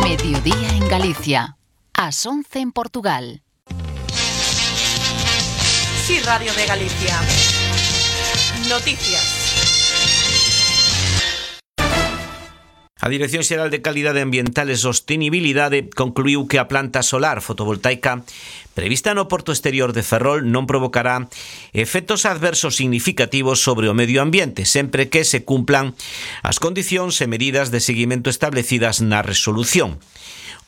Mediodía en Galicia. Ás 11 en Portugal. Sí, Radio de Galicia. Noticias. A Dirección Xeral de Calidade Ambiental e Sostenibilidade concluiu que a planta solar fotovoltaica prevista no porto exterior de Ferrol non provocará efectos adversos significativos sobre o medio ambiente, sempre que se cumplan as condicións e medidas de seguimento establecidas na resolución.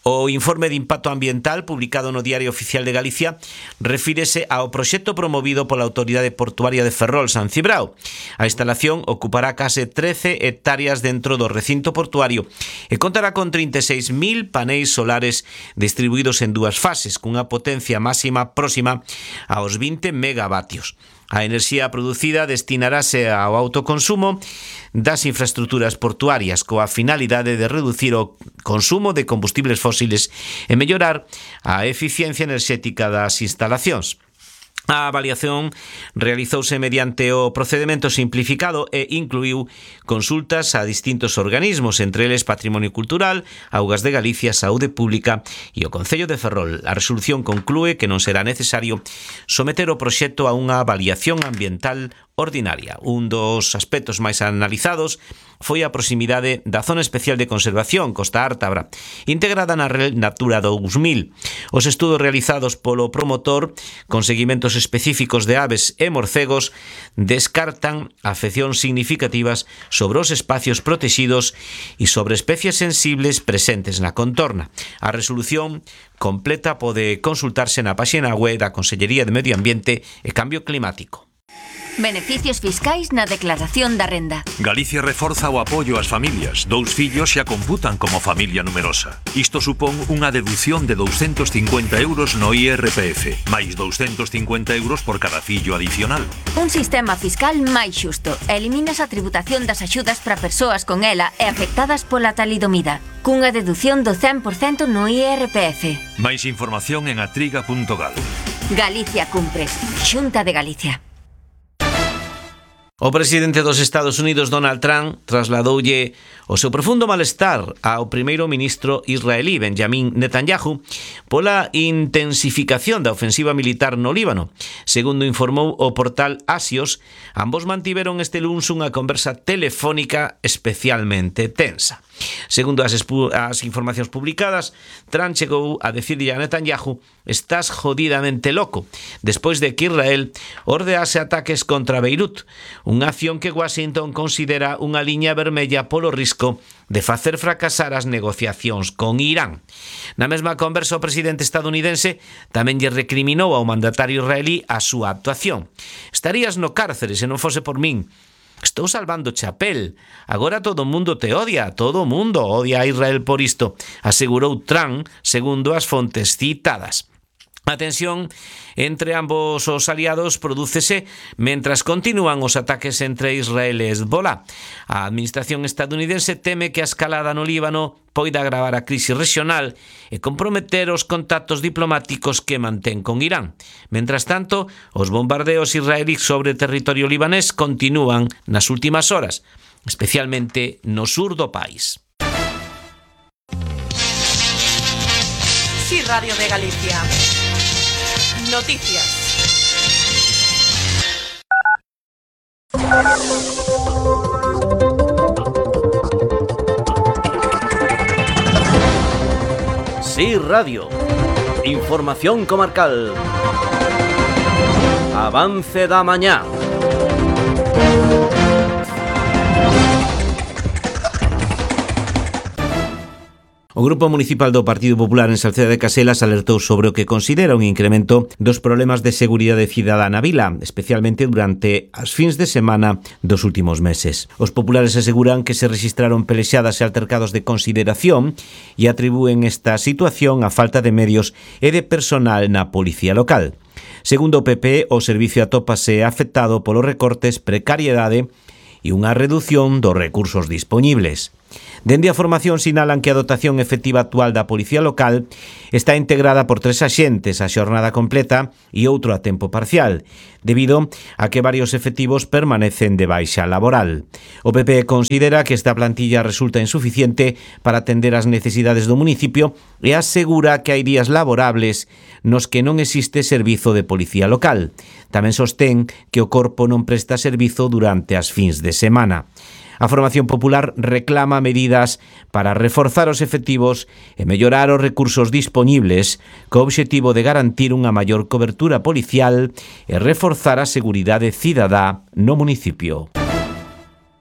O informe de impacto ambiental publicado no Diario Oficial de Galicia refírese ao proxecto promovido pola Autoridade Portuaria de Ferrol, San Cibrao. A instalación ocupará case 13 hectáreas dentro do recinto portuario e contará con 36.000 paneis solares distribuídos en dúas fases, cunha potencia máxima próxima aos 20 megavatios. A enerxía producida destinarase ao autoconsumo das infraestructuras portuarias coa finalidade de reducir o consumo de combustibles fósiles e mellorar a eficiencia enerxética das instalacións. A avaliación realizouse mediante o procedemento simplificado e incluiu consultas a distintos organismos, entre eles Patrimonio Cultural, Augas de Galicia, Saúde Pública e o Concello de Ferrol. A resolución conclúe que non será necesario someter o proxecto a unha avaliación ambiental ordinaria. Un dos aspectos máis analizados foi a proximidade da Zona Especial de Conservación Costa Ártabra, integrada na Red Natura 2000. Os estudos realizados polo promotor con seguimentos específicos de aves e morcegos descartan afeccións significativas sobre os espacios protegidos e sobre especies sensibles presentes na contorna. A resolución completa pode consultarse na páxina web da Consellería de Medio Ambiente e Cambio Climático. Beneficios fiscais na declaración da renda. Galicia reforza o apoio ás familias. 2 fillos xa computan como familia numerosa. Isto supón unha deducción de 250 euros no IRPF, máis 250 euros por cada fillo adicional. Un sistema fiscal máis xusto. Eliminas a tributación das axudas para persoas con ela e afectadas pola talidomida, cunha deducción do 100% no IRPF. Máis información en atriga.gal. Galicia cumpre. Xunta de Galicia. O presidente dos Estados Unidos, Donald Trump, trasladoulle o seu profundo malestar ao primeiro ministro israelí, Benjamin Netanyahu, pola intensificación da ofensiva militar no Líbano. Segundo informou o portal Axios, ambos mantiveron este luns unha conversa telefónica especialmente tensa. Segundo as informacións publicadas, Trump chegou a decirle a Netanyahu: "Estás jodidamente loco", despois de que Israel ordease ataques contra Beirut, unha acción que Washington considera unha liña vermella polo risco de facer fracasar as negociacións con Irán. Na mesma conversa, o presidente estadounidense tamén lle recriminou ao mandatario israelí a súa actuación. "Estarías no cárcere se non fose por min. Estou salvando chapel. Agora todo o mundo te odia. Todo o mundo odia a Israel por isto", asegurou Trump, segundo as fontes citadas. A tensión entre ambos os aliados prodúcese mentras continúan os ataques entre Israel e Hezbollah. A administración estadounidense teme que a escalada no Líbano poida agravar a crise regional e comprometer os contactos diplomáticos que mantén con Irán. Mentras tanto, os bombardeos israelíes sobre territorio libanés continúan nas últimas horas, especialmente no sur do país. Sí, Radio de Galicia. Noticias. Sí, Radio. Información comarcal. Avance da mañá. O Grupo Municipal do Partido Popular en Salceda de Caselas alertou sobre o que considera un incremento dos problemas de seguridade cidadá na vila, especialmente durante as fins de semana dos últimos meses. Os populares aseguran que se registraron pelexadas e altercados de consideración e atribúen esta situación á falta de medios e de personal na policía local. Segundo o PP, o servicio atópase afectado polos recortes, precariedade e unha redución dos recursos dispoñibles. Dende a formación sinalan que a dotación efectiva actual da Policía Local está integrada por 3 axentes a xornada completa e outro a tempo parcial, debido a que varios efectivos permanecen de baixa laboral. O PP considera que esta plantilla resulta insuficiente para atender as necesidades do municipio e asegura que hai días laborables nos que non existe servizo de Policía Local. Tamén sostén que o corpo non presta servizo durante as fins de semana. A Formación Popular reclama medidas para reforzar os efectivos e mellorar os recursos dispoñibles co obxectivo de garantir unha maior cobertura policial e reforzar a seguridade cidadá no municipio.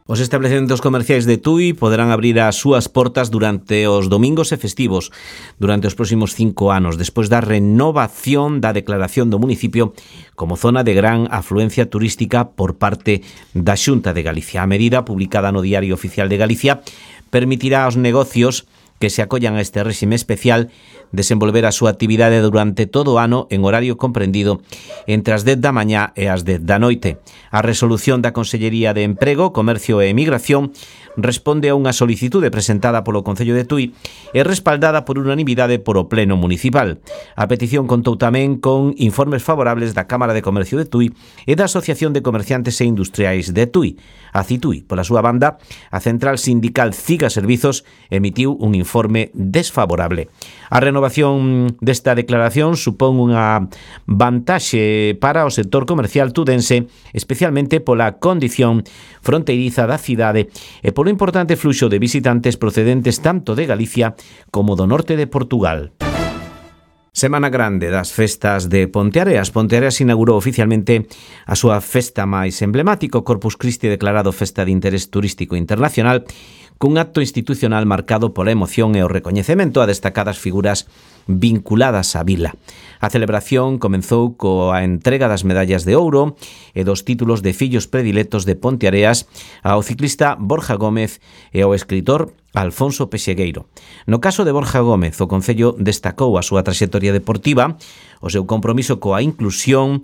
Os establecementos comerciais de Tui poderán abrir as súas portas durante os domingos e festivos durante os próximos 5 anos, despois da renovación da declaración do municipio como zona de gran afluencia turística por parte da Xunta de Galicia. A medida, publicada no Diario Oficial de Galicia, permitirá aos negocios que se acollan a este réxime especial desenvolver a súa actividade durante todo o ano en horario comprendido entre as 10 da mañá e as 10 da noite. A resolución da Consellería de Emprego, Comercio e Emigración responde a unha solicitude presentada polo Concello de Tui e respaldada por unanimidade por o Pleno Municipal. A petición contou tamén con informes favorables da Cámara de Comercio de Tui e da Asociación de Comerciantes e Industriais de Tui. A Citui, pola súa banda, a central sindical CIGA Servizos emitiu un informe desfavorable. A renovación desta declaración supón unha vantaxe para o sector comercial tudense, especialmente pola condición fronteiriza da cidade e polo importante fluxo de visitantes procedentes tanto de Galicia como do norte de Portugal. Semana grande das festas de Ponteareas. Ponteareas inaugurou oficialmente a súa festa máis emblemática, Corpus Christi, declarado Festa de Interés Turístico Internacional, cun acto institucional marcado pola emoción e o recoñecemento a destacadas figuras vinculadas á vila. A celebración comenzou coa entrega das medallas de ouro e dos títulos de fillos predilectos de Ponteareas ao ciclista Borja Gómez e ao escritor Alfonso Pexegueiro. No caso de Borja Gómez, o Concello destacou a súa traxectoria deportiva, o seu compromiso coa inclusión,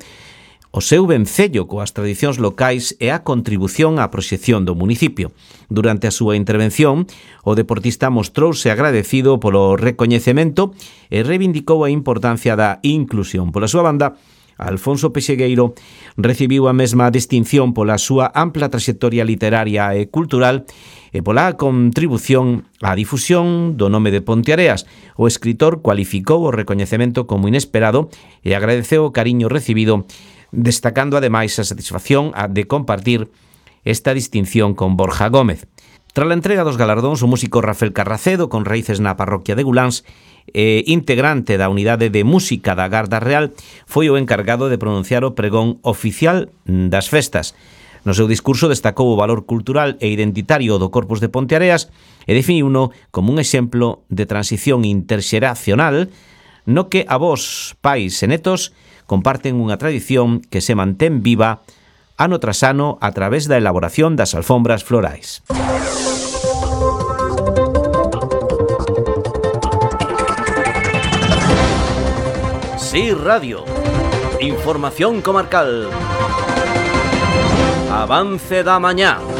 o seu vencello coas tradicións locais e a contribución á proxección do municipio. Durante a súa intervención, o deportista mostrouse agradecido polo recoñecemento e reivindicou a importancia da inclusión. Pola súa banda, Alfonso Pexegueiro recibiu a mesma distinción pola súa ampla traxectoria literaria e cultural e pola contribución á difusión do nome de Ponteareas. O escritor cualificou o recoñecemento como inesperado e agradeceu o cariño recibido, destacando ademais a satisfacción de compartir esta distinción con Borja Gómez. Tras a entrega dos galardóns, o músico Rafael Carracedo, con raíces na parroquia de Guláns e integrante da unidade de música da Garda Real, foi o encargado de pronunciar o pregón oficial das festas. No seu discurso destacou o valor cultural e identitario do Corpus de Ponteareas e definiuno como un exemplo de transición interxeracional no que avós, pais e netos comparten unha tradición que se mantén viva ano tras ano a través da elaboración das alfombras florais. Sí Radio. Información comarcal. Avance da mañá.